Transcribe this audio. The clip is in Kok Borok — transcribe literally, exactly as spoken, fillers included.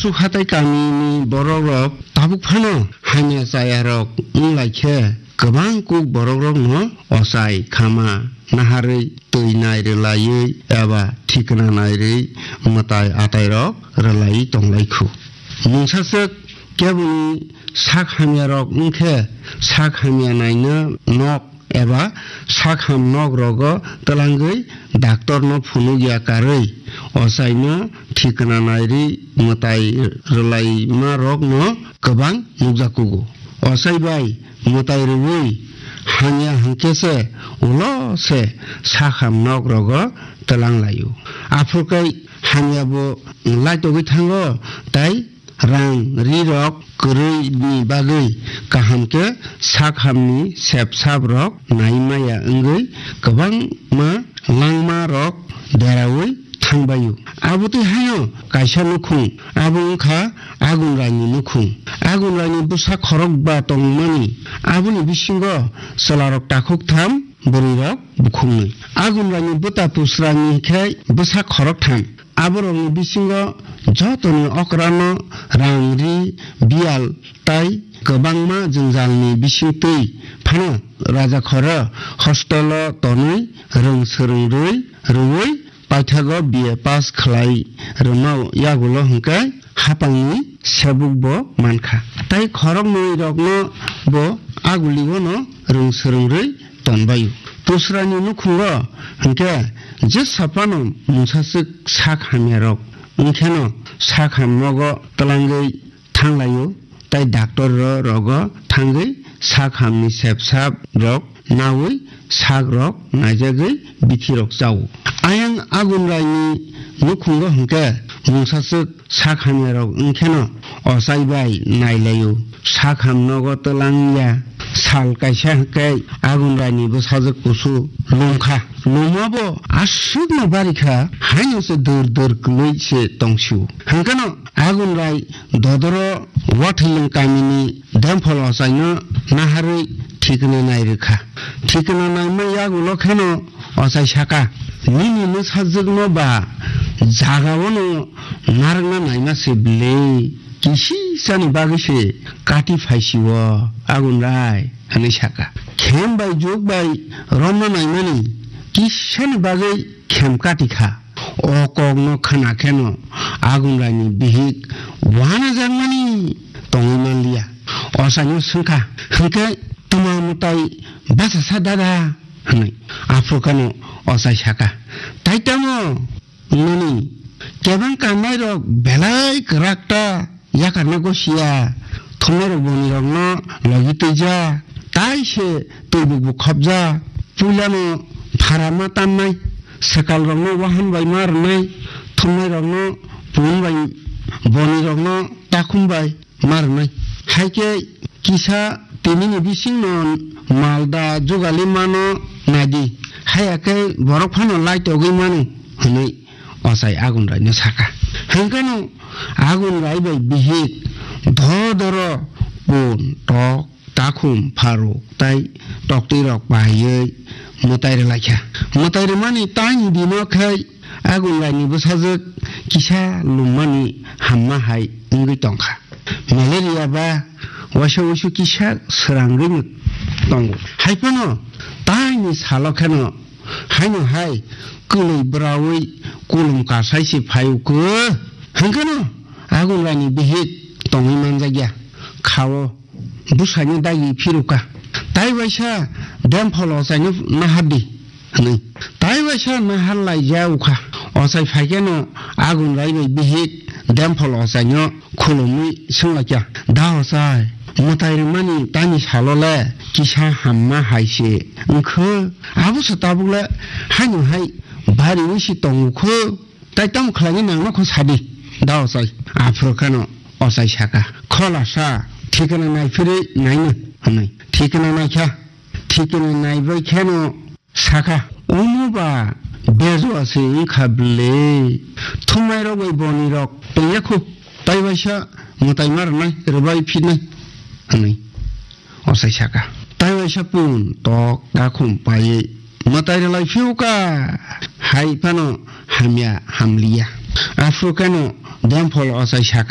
Tuk hatai kamini borok rok tabuk phano hamya chaya rok wng lai khe, kwbang kuk borok rok no ochai khama naharwi twi nai rwlaiwi eba thikna nai rwi mwtai atai rok rwlaiwi tong lai khu. Mungsa swk keboni sak hamya rok wng khe, sak hamya naina nok eba sak ham nok rogo twlangwi doctor no phunuk ya karwi ochai no thikna nai rwi mwtai rwlaima rok no kwbang nukjakugo. Ochai bai mwtai rwui hamya hwnkhe se ulo se sak ham nok rogo twlang laio. Aphuru khe hamya bo laitogwi thango, tai rang ri rok kwrwi ni bagwi kaham khe sak ham ni sep sap rok nai maya wngwi kwbangma langma rok deraui thangbaio. Abotwi haino kaisa nukhung, abo wngkha Agunrai ni nukhung. Agunrai ni bwsa khorokba tongmani, aboni bisingo chwla rok takhuk tham, bwrwi rok bukhuk nwi. Agunrai ni bwta Pusra ni khe bwsa khorok tham. Aborokni bisingo jotoni okrano rang ri, biyal tai kwbangma jwngjalni bisingtwi phano rajakhoro hostelo tonwi rwng swrwng rwi rwui paithago B A pass khlai rwma yagulo hwnkhe hapangni sebukbo mankha. Tai khoroknwi rokno bo aguligono rwng swrwng rwi tonbaio. Pusrani nukhungo hwnkhe jesa phano mungsaswk sak hamyarok wngkheno sak ham nogo twlangwi thanglaio, tai doctor ro rogo thangwi sak hamni sep sap rok naui sak rok naijagwi bithi rok chao. Ayang Agunrai ni nukhungo hwnkhe mungsaswk sak hamya rok wngkheno ochai bai nailaio. Sak ham nogo twlang ya. Sal kaisa hwnkhe Agunrai ni bwsajwk kusu lungkha. Lungma bo aswkno barikha, haino se dur dur kwlwi se tongsio. Hwnkhe no Agunrai dodoro Wathilwng kamini Demphol ochaino naharwi thikna nai rwkha. Thikna naima yagulo kheno ochai saka, "Nini mwsajwkno ba jagao no narwkna naima se bwle, kisisani bagwi se kati phaisio Agunrai," hwnwi saka. "Khem bai juk bai romna naimani kisani bagwi khem kati kha." O kokno khwna kheno Agunraini bihik wanajakmani tongwi manliya. Ochaino swngkha, "Hwnkhe twma mwtai bachasa dada?" hwnwi. Aphuru kheno ochai saka, "Tai tamo, nini kebang kannairok belai kwrak ta." Yakarna gosiya, thumnairok bonirokno logi twija, tai se twi bukbuk khopja. Puilano pharama tannai, sekalrokno wahan bai ma rwnai, thumnairokno pun bai, bonirokno takhum bai ma rwnai. Hai khe kisa tinini bisingno malda jugali mano naidi, haiya khe borok phano laitogwi mano, hwnwi ochai Agunraino saka. Hwnkhe no Agunrai bai bihik dodoro pun, tok, takhum, pharuk tai toktwirok paiwi mwtai rwlaikha. Mwtai rwmani taini dino khai Agunraini bwsajwk kisa lummani hamma hai wngwi tongkha. Malaria ba waisa wuisu kisa srangwi tongo. Hai phano taini salo kheno haino hai kwlwi bwraui kulum kasai se phai o khe. Hwnkhe no Agunraini bihik tongwi manjakya. Khao bwsaino dagi phirukha. Tai waisa Demphol ochaino nahar di, hwnwi. Tai waisa nahar laijak ukha. Ochai phai kheno Agunrai bai bihik Demphol ochaino khulumwi swnglaikha, "Da ochai, mwtai rwmani tani salo le kisa hamma hai se wngkhe, abo se tabuk le haino hai bari wi se tongo khe, tai tamo khlainai nangno kho sadi, da ochai." Aphuru kheno ochai saka, "Kholasa, thikna naiphirwi naino," hwnwi. Thikna naikha, thikna naibai kheno saka, "Omo ba bejua se wngkha bwle, thumnairok bai bonirok tongya kho, tai waisa mwtai ma rwnai, rwbai phinai," hwnwi ochai saka. Tai waisa pun tok takhum paiwi mwtai rwlai phiyuka, hai phano hamya hamliya. Aphuru kheno Demphol ochai saka.